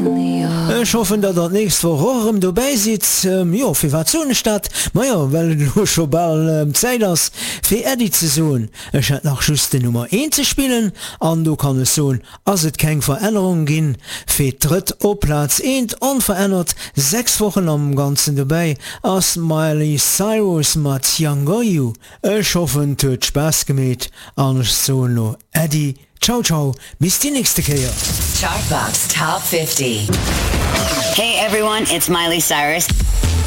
Ech hoffen, datt der d'nächst Woch och erëm dobäi sidd. Jo, firwat soen ech dat? Majo, well et elo scho bal Zäit ass, fir Äddi ze soen. Ech hätt nach just den Nummer eent ze spillen an do kann ech soen, ass et keng Verännerung ginn. Fir d'drëtt op Plaz eent, onverännert 6 Wochen am Ganzen dobäi, ass d'Miley Cyrus mat Younger You. Ech hoffen 't huet Spaass gemeet an ech soen lo Äddi, ciao ciao, bis déi nächste Kéier. Chartbox Top 50. Hey everyone, it's Miley Cyrus.